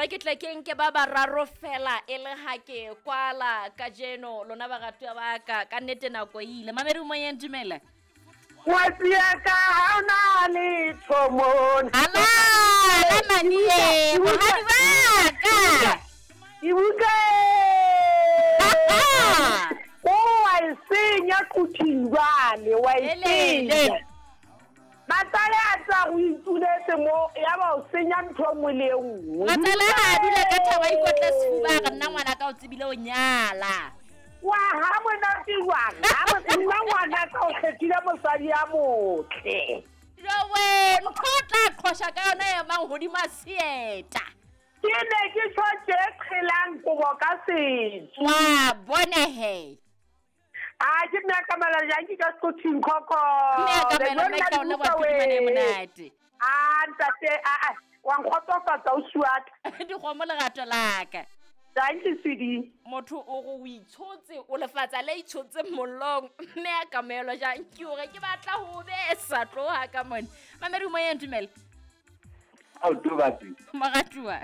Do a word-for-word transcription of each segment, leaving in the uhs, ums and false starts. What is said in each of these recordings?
re ke tle ke nke ba bararo fela e le ha ke kwala kajeno lona baratuwa ba ka ka nnete nako e ile. Mamedi moyeng, dumela. Ngwetsi ya ka ha o na letho mona. Ala, la manie, bohadi ba ka. Ke buka. O wa e senya quthing jwale, wa e senya. Matsale a tsa go ituletse mo ya ba o senya ntho e nngwe le e nngwe. Matsale ha a dula ka thabo a ikotle sefuba a re nna ngwana ka o tsebile o nyala. Wa ha monate jwang? Ha nna ngwana ka o kgethile mosadi ya motle. Jowe, ntho o tla qhosha ka yona e mang hodima seeta. Ke ne ke tjho tje qhelang kobo ka setso. Wa bone he. A ke nna ka mala jang ke ka Sekothing khokho. Mme a ka mela mme ka o leboha phidimane e monate. A ntate a a wa nkgotsofatsa o suaka. Dikgomo lerato la ka. Thank you sweetie. Motho o re o itshotse o lefatsa le itshotse mollong mme a ka melo jang ke hore ke batla ho besa tloha ka mone. Mamedi moyeng, dumela. Ao Tubatsi. Moratuwa.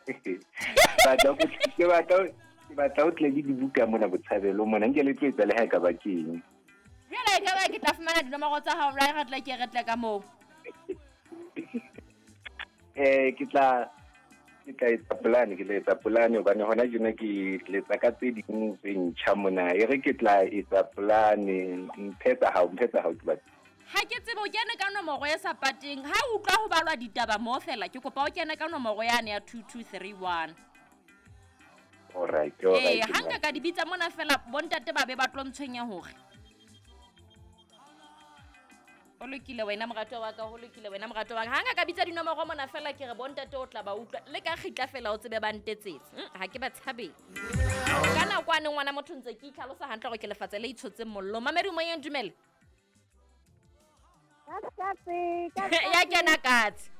Batla go ke batla ke batla o tle le dibuka mona botshabelo mona nke le tlo etsa le ha e ka ba keng. Jwale e ka ba ke tla fumana dinomoro tsa hao ra re tla ke re tle ka moo. Eh ke tla ke tla etsa plan ke tla etsa plan hobane hona jena ke letsa ka tse ding tse ntjha mona e re ke tla etsa plan mphetsa hao mphetsa hao ke batla. Ha ke tsebe o kene ka nomoro e sa pateng ha o utlwa ho balwa ditaba mo fela ke kopa o kene ka nomoro yane ya two two three one. All right, all right. Eh, ha nka ka di bitsa mona fela bontate ba be ba tlo ntshwenya hore. O lokile wena morato wa ka, ho lokile wena morato wa ka. Ha nka ka bitsa dinomoro mona fela ke re bontate o tla ba utlwa le ka kgitla fela o tsebe ba ntetsetse. Ha ke ba tshabe. Ka nako ane ngwana motho ntse ke itlhalosa hantle hore ke lefatse le itshotseng mollo. Mamedi moyeng, dumela. Katse, katse. Ya kena katse.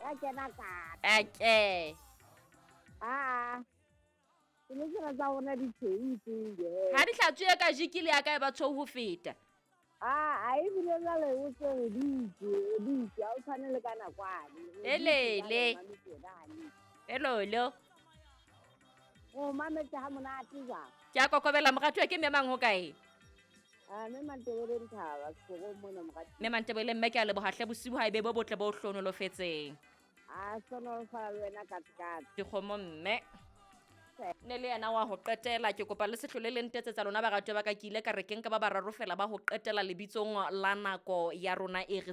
Ya kena katse. Okay. Ah. Ke ne ke rata ho bona ditshweu tse. Ha di hlatswe ka jikile ya ka e ba tshweu ho feta. Ah, a ebile jwale o tse o ditse, o ditse, ha o tshwane le ka nakwane. Elele. Elolo. O mametse ha monate jwang? Ke a kokobela moratuwa ke mme mang ho kae? Ah, mme Mantebele Nthaba, sekorong mona moratuwa. Mme Mantebele mme ke a leboha hle bosiu ha ebe bo botle bo hlonolofetseng. Ah, hlonolofala le wena katse katse. Dikgomo mme. Ne le yena wa ho qetela ke kopa le sehlole le ntetsetsa lona baratuwa ba ka ke ile ka re ke nka ba bararo fela ba ho qetela lebitsong la nako ya rona e re